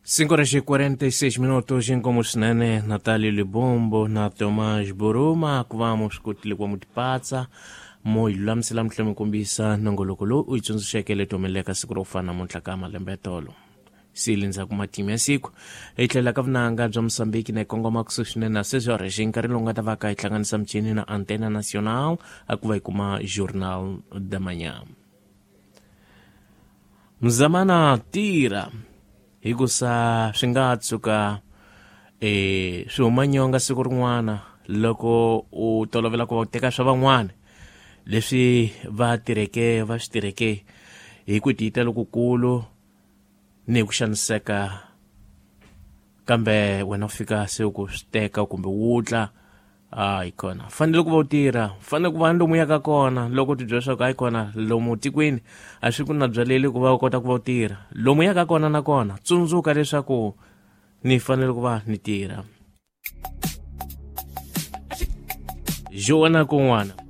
5:46 inkomo swinene Natalio Libombo na Tomás Boroma ku va mu swi kotile ku va mu tipatsa mo hi lulamisela mi tlhela mi kombisa nongoloko lowu u yi tsundzuxeke leti humeleleka siku ro fana namuntlha ka malembe ya tolo sili ndzhaku matimu ya siku hi tlhela ka vunanga bya Mosambiki na hi kongoma kusuhi swinene na sweswo rexi nkarhi lowu nga ta va ka hi hlanganisa michini na Antena Nacional a ku va hi kuma Journal da Manhã. Mzamana tirha hikusa swi nga tshuka swi huma nyonga siku rin'wana loko u tolovela ku va u teka swa van'wana leswi va tirheke va swi tirheke hi ku tiyita lokukulu ni hi ku xaniseka, kambe wena u fika se ku swi teka kumbe wutla hayi kona. Fanele ku va u tirha, fanele ku va ni lomu yaka kona loko u tibyela leswaku hayi kona lomu tikweni a swi ku na byaleli ku va u kota ku va u tirha lomu yaka kona, nakona tsundzuka leswaku ni fanele ku va ni tirha. Joana kun'wana.